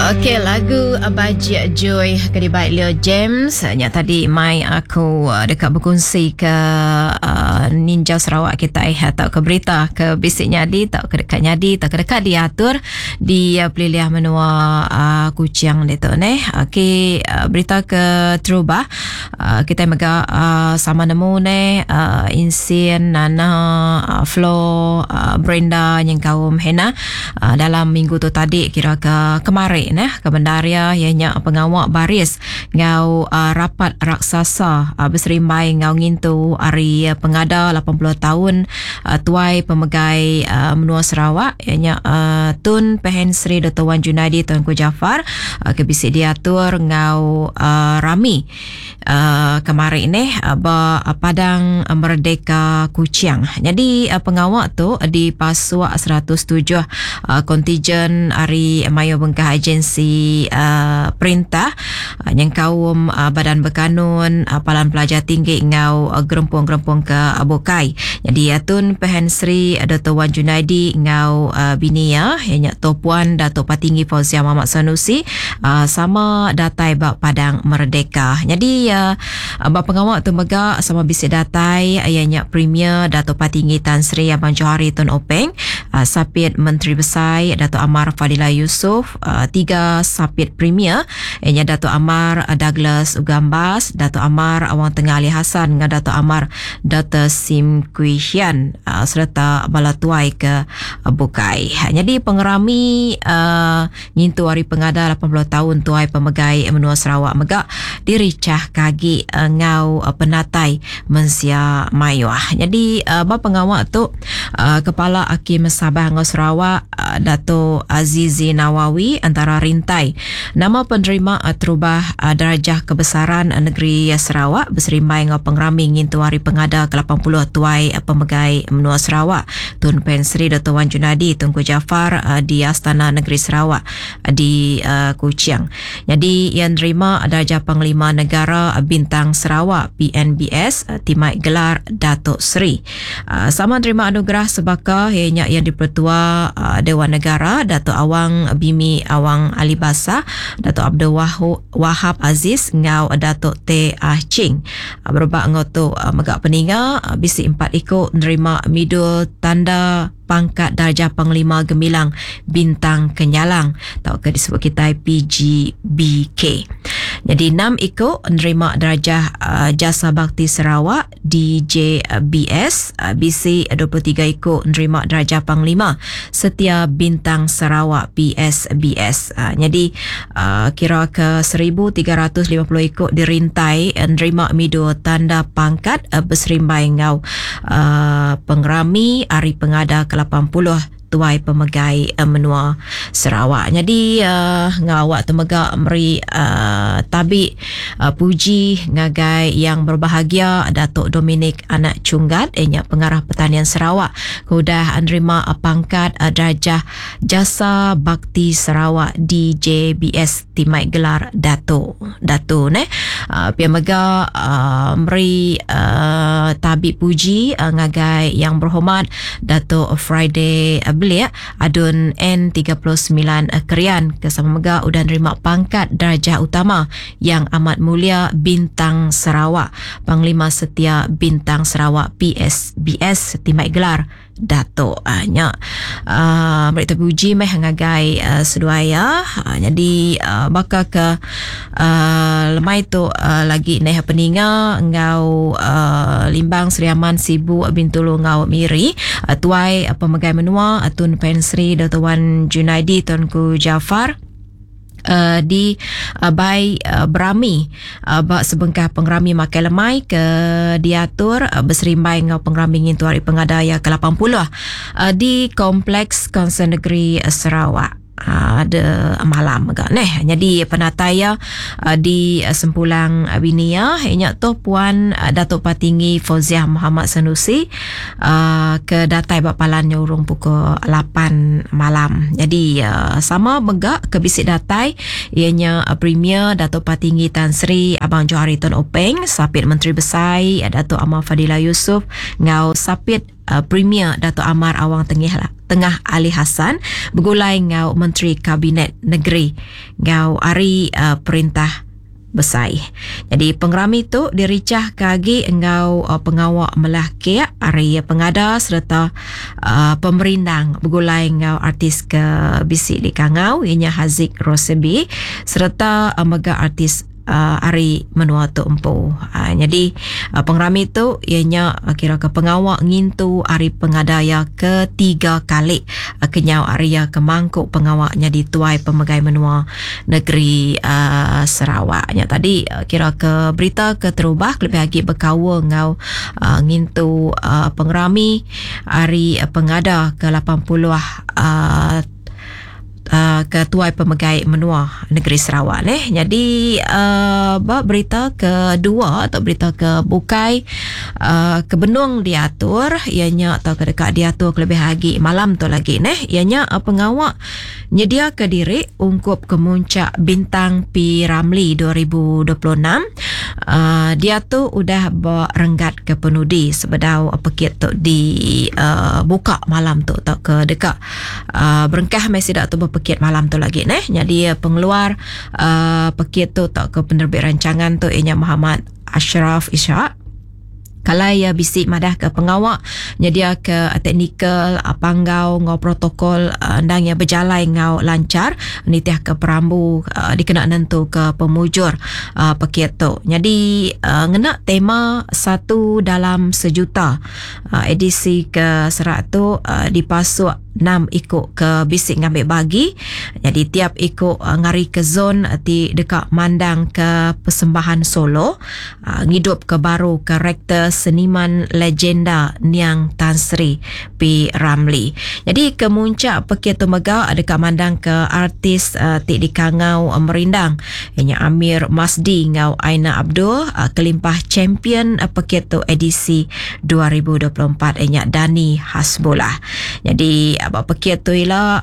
Okey, lagu Bajik Joy ke dibai Leo James nya tadi mai aku eh, deka bekunsi ke uh, ninjau Sarawak kita eh, atau ke berita ke bisi nyadi atau ke deka nyadi atau ke deka diatur di uh, pelilih menua uh, Kuching ditu neh. Okey, uh, berita ke terubah uh, kita mega uh, sama nemu neh uh, Insin, Nana, uh, Flo, uh, Brenda nyengkaum Hannah Dalam minggu tu tadi kira ke kemari neh ke bendar iya iya nya pengawa baris enggau rapat raksasa beserimbai enggau ngintu hari pengada 80 taun tuai pemegai menua Sarawak iya nya Tun Pehin Sri Doktor Wan Junaidi Tuanku Jaafar ke bisi diatur enggau rami. Kemari neh ba Padang Merdeka Kuching. Nyadi pengawa tu dipasuk 107 kontijen ari mayuh bengkah agensi perintah nyengkaum Badan Berkanun, Palan Pelajar Tinggi enggau gerempung-gerempung ke bukai. Nyadi Tun Pehin Sri Doktor Wan Junaidi enggau bini iya, iya nya Toh Puan Datuk Patinggi Fauziah Mohd Sanusi sama datai ba Padang Merdeka. Nyadi ba pengawa tu mega sama bisi datai iya nya Premier Datuk Patinggi Tan Sri Abang Johari Tun Openg, Sapit Menteri Besai Datuk Amar Fadillah Yusof, tiga Sapit Premier iya nya Datuk Amar Douglas Ugambas, Datuk Amar Awang Tengah Ali Hasan enggau Datuk Amar Doktor Sim Kui Hian sereta bala tuai ke bukai. Nyadi pengerami Ngintu hari pengada 80 taun tuai pemegai menua Sarawak mega dirichahka agi enggau penatai mensia mayuh. Nyadi ba pengawa tu Kepala Akim Sabah enggau Sarawak Dato Azizi Nawawi antara rintai nama penerima terubah Darjah Kebesaran Negeri Sarawak beserimbai enggau pengerami ngintu hari pengada ke 80 tuai pemegai menua Sarawak Tun Pen Sri Doktor Wan Junadi Tunku Jaafar di Astana Negeri Sarawak di Kuching. Nyadi iya nerima Darjah Panglima Negara Bintang Sarawak PNBS ti mai gelar Dato Sri. Sama nerima anugerah sebaka iya nya Yang Dipertua Dewan Negara Dato Awang Bimi Awang Ali Basah, Dato Abdul Wahab Aziz enggau Dato Tay Ah Ching. Berebak enggau tu mega peninga bisi empat iku nerima midul tanda pangkat darjah Panglima Gemilang Bintang Kenyalang tauka disebut kitai PGBK. Nyadi enam iku nerima darjah Jasa Bakti Sarawak DJBS bisi 23 iku nerima darjah Panglima Setia Bintang Sarawak PSBS. Nyadi kira ke 1350 iku dirintai nerima midul tanda pangkat beserimbai enggau pengerami Hari Pengada ke 80 tuai pemegai menua Sarawak. Nyadi enggau awak tu mega meri tabi puji ngagai Yang Berbahagia Datuk Dominic Anak Chunggat iya nya Pengarah Pertanian Sarawak ke udah nerima pangkat Darjah Jasa Bakti Sarawak DJBS ti mai gelar Dato. Dato neh. Pia mega meri tabi puji ngagai Yang Berhormat Dato Friday Belik Adun N39 Krian ke sama mega udah nerima pangkat Darjah Utama Yang Amat Mulia Bintang Sarawak Panglima Setia Bintang Sarawak PSBS ti mai gelar Datuk. Uh, nya uh, meri terpuji meh ngagai uh, seduai ya. Uh, jadi uh, baka ke uh, lemai tu uh, lagi neh peninga enggau uh, Limbang Sri Aman Sibu Bintulu enggau Miri uh, tuai uh, pemegai menua uh, Tun Pen Sri Dr. Wan Junaidi Tunku Jaafar uh, di uh, bai uh, berami uh, ba sebengkah pengerami makai lemai ke diatur uh, beserimbai enggau pengerami ngintu hari pengada iya ke 80 uh, di Kompleks Kaunsil Negeri Sarawak. Uh, ada malam mega neh. Nyadi penatai iya uh, di Sempulang bini iya nya tu Puan uh, Datuk Patinggi Fauziah Muhammad Sanusi uh, ke datai ba palan nya urung pukul 8 malam. Jadi uh, sama mega ke bisi datai iya nya uh, Premier Datuk Patinggi Tan Sri Abang Johari Tun Openg, Sapit Menteri Besai Datuk Amar Fadillah Yusof enggau Sapit. Premier Datuk Amar Awang Tengih Tengah Ali Hasan begulai enggau Menteri Kabinet Negeri enggau ari Perintah Besai. Nyadi pengerami tu dirichahka agi enggau pengawa melah kek ari pengada sereta pemerindang begulai enggau artis ke bisi dikangau iya nya Haziq Rosebi sereta mega artis ari menua tu empu. Nyadi pengerami tu iya nya kira ke pengawa ngintu ari pengada iya ketiga kali kenyau ari iya ke mangku pengawa nyadi tuai pemegai menua negeri Sarawak. Nya tadi kira ke berita keterubah kelebih agi bekaul enggau ngintu pengerami ari pengada ke 80 ke tuai pemegai menua negeri Sarawak neh. Nyadi uh, ba berita kedua atau berita ke bukai uh, ke benung diatur iya nya atau ke deka diatur kelebih agi malam tu lagi neh iya nya uh, pengawa nyediaka diri ungkup kemuncak Bintang P Ramlee 2026 uh, diatu udah ba renggat ke penudi sebedau pekit tu dibuka uh, malam tu atau ke deka Uh, berengkah meh sida tu bepekit malam tu lagi neh. Nyadi pengeluar uh, pekit tu tauka penerbit rancangan tu iya nya Muhammad Ashraf Ishak. Kalai iya bisi madah ke pengawa nyedia ke teknikal panggau enggau protokol endang iya bejalai enggau lanchar nitih ke perambu dikena nentu ke pemujur pekit tu. Nyadi ngena tema satu dalam sejuta Edisi ke serak tu dipasuk enam iku ke bisi ngambi bagi. Nyadi tiap iku ngarika zon ti deka mandangka persembahan solo ngidupka baru karakter seniman legenda niang Tan Sri P. Ramlee. Nyadi ke muncak pekit tu mega deka mandangka artis ti dikangau merindang iya nya Amir Masdi enggau Aina Abdul kelimpah champion pekit tu edisi 2024 iya nya Dani Hasbullah. Nyadi ba pekit tu ila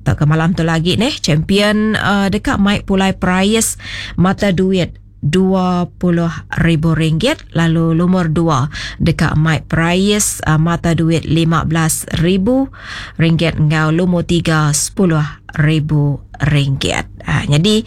tauka malam tu lagi neh champion deka mai pulai perais mata duit RM20,000 lalu lumur dua deka mai perais mata duit RM15,000 enggau lumur tiga RM10,000. Ha, nyadi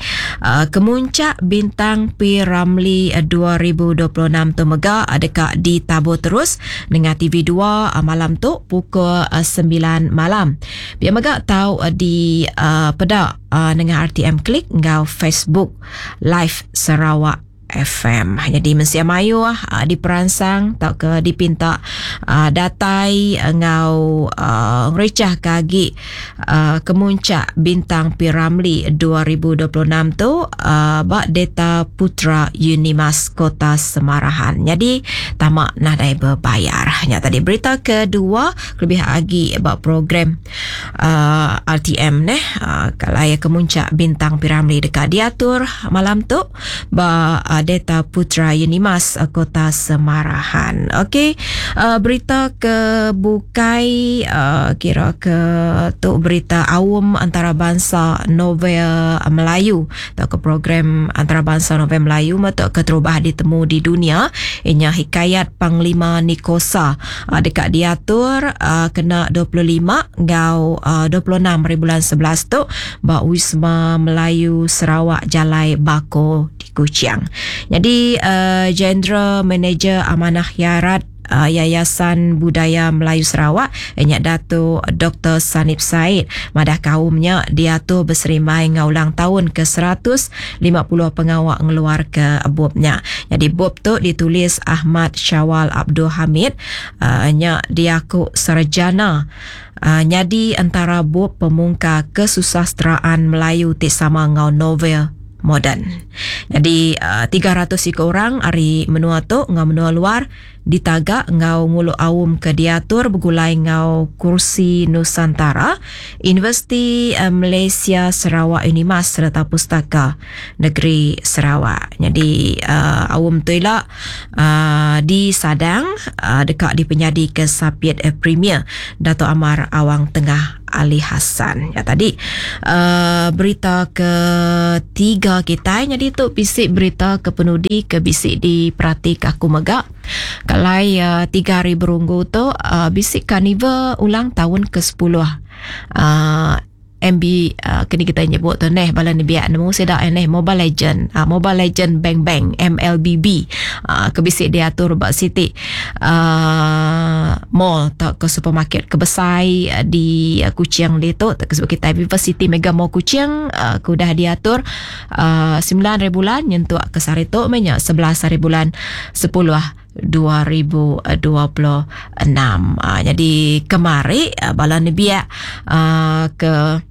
kemuncak Bintang P Ramlee 2026 tu mega deka ditabur terus nengah TV2 malam tu pukul 9 malam. Pia mega tau di peda nengah RTM Klik enggau Facebook Live Sarawak FM. Jadi mensia mayuh uh, diperansang tauka dipinta uh, datai enggau uh, ngericah ke agi uh, kemuncak Bintang P. Ramlee 2026 tu uh, ba Data Putra Unimas Kota Semarahan. Jadi tama nadai berbayar. Nya tadi berita kedua lebih agi ba program uh, RTM neh uh, kalai kemuncak Bintang P. Ramlee deka diatur malam tu ba uh, Data Putra Unimas uh, Kota Semarahan. Okey, uh, berita ke bukai uh, kira ke tu berita awam antarabangsa novel Melayu atau ke program antarabangsa novel Melayu atau keterubah ditemu di dunia inya Hikayat Panglima Nikosa uh, dekat diatur uh, kena 25 enggau uh, 26 hari bulan 11 tu ba Wisma Melayu Sarawak Jalai Bako di Kuching. Jadi uh, General Manager Amanah Khairat uh, Yayasan Budaya Melayu Sarawak nya Dato Dr. Sanib Said madah kaumnya diatur berserimbai enggau ulang tahun ke 150 pengawa ngeluar ke bubnya. Jadi bub tu ditulis Ahmad Syawal Abdul Hamid uh, nya diaku sarjana Nyadi entara bup pemungka kesusasteraan Melayu ti sama enggau novel moden. Nyadi 300 iku orang ari menua tu enggau menua luar ditaga enggau ngulu aum ke diatur begulai enggau Kursi Nusantara, Universiti Malaysia Sarawak Unimas sereta Pustaka Negeri Sarawak. Nyadi aum tu ila disadang deka dipenyadika Sapit Premier Datuk Amar Awang Tengah. Ali Hassan. Ya tadi uh, berita ke tiga kitai nyadi tu bisi berita ke penudi ke bisi diperati ke aku mega. Kalai uh, tiga hari berunggu tu uh, bisi karnival ulang tahun ke 10 uh, MB uh, kini kita nyebut tu neh bala nembiak nemu sida neh Mobile Legend uh, Mobile Legend Bang Bang MLBB uh, ke bisi diatur ba siti uh, mall tau ke supermarket ke besai uh, di uh, Kuching ditu ke sebut kita Viva City Mega Mall Kuching uh, ke udah diatur uh, 9 hari bulan nyentuk ke sehari tu meh nya 11 hari bulan 10 2026. Uh, jadi kemari uh, bala nembiak uh, ke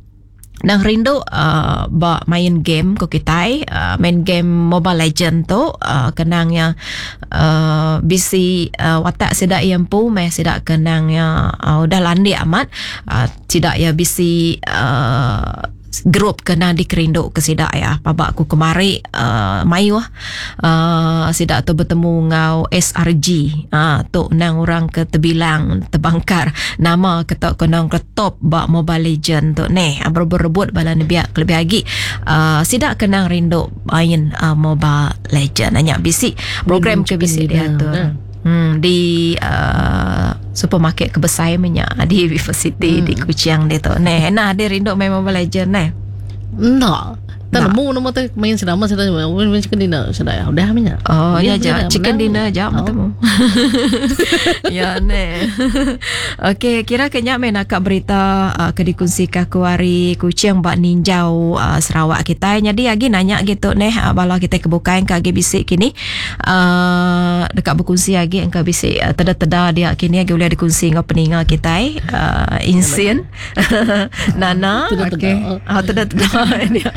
nang rindu uh, ba main game ko kitai uh, main game Mobile Legend tu uh, kenang ya uh, bisi uh, watak sida iya empu meh sida kenang ya uh, udah landik amat uh, sida ya bisi uh, Gerup ke endang dikerindu ke sida iya. Paba aku kemari uhh mayuh uhh sida tu betemu enggau SRG uhh tu endang orang ke tebilang tebangkar nama ke tau ke endang ke top ba Mobile Legend tu neh. Berebut-rebut bala nembiak kelebih agi uhh sida ke endang rindu main uhh Mobile Legend. Nya bisi program ke bisi diatur. Hmm, di uh, supermarket ke besai meh nya di River City hmm. di Kuching ditu. Neh, nah dia rindu main Mobile Legend neh. Enda. Tak nemu nama tu main sedama sedama main chicken dinner sedaya udah meh nya. Oh ya ja chicken dinner ja oh. temu. ya neh. Okey kira ke nya meh naka berita uh, ke dikongsi ke aku hari Kuching ba ninjau uh, Sarawak kitai. Jadi agi nanya gitu neh uh, bala kitai ke bukai ke agi bisi kini. Uh, deka bekunsi agi engka bisi uh, teda-teda dia kini agi ulih dikunsi enggau peninga kitai uh, insin Nana okey oh teda-teda dia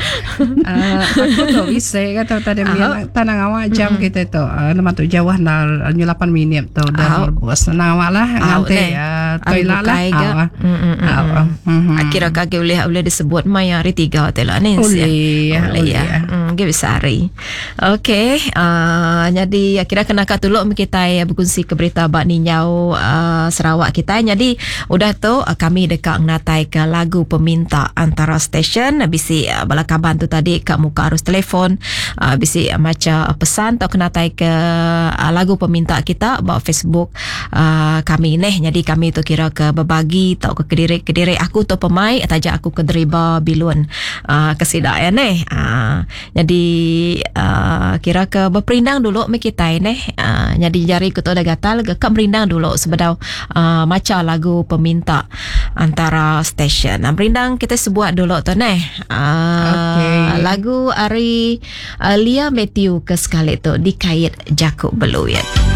uh, aku tu bisi kata tadi uh, tanang awak jam mm. kita tu uh, nama tu jauh na 8 minit tu dah bos nang awak lah nganti uh, toilet lah uh, kira kaki ulih ulih disebut maya hari tiga tu lah ni ulih ulih ya mm, bisa hari Okey, uh, nyadi kira kena ka tuluk meh kitai bekunsi ke berita ba ninjau uh, Sarawak kitai. Nyadi udah tu uh, kami deka ngenatai ke lagu peminta antara stesen bisi uh, bala kaban tu tadi ka muka arus telefon uh, bisi macha pesan tau kenatai ke uh, lagu peminta kita ba Facebook uh, kami neh. Nyadi kami tu kira ke bebagi tau ke kediri-kediri aku tu pemai taja aku ke deriba bilun uh, ke sida ya neh. Uh, Nyadi uh, kira ke beperindang dulu meh kitai neh. Uh, nyadi jari ku tu udah gatal ke ka merindang dulu sebedau uh, macha lagu peminta antara stesen. Uh, merindang kita sebuat dulu tu neh. Uh, okay. Lagu ari uh, Lia Matthew ke sekali tu dikait jaku beluit.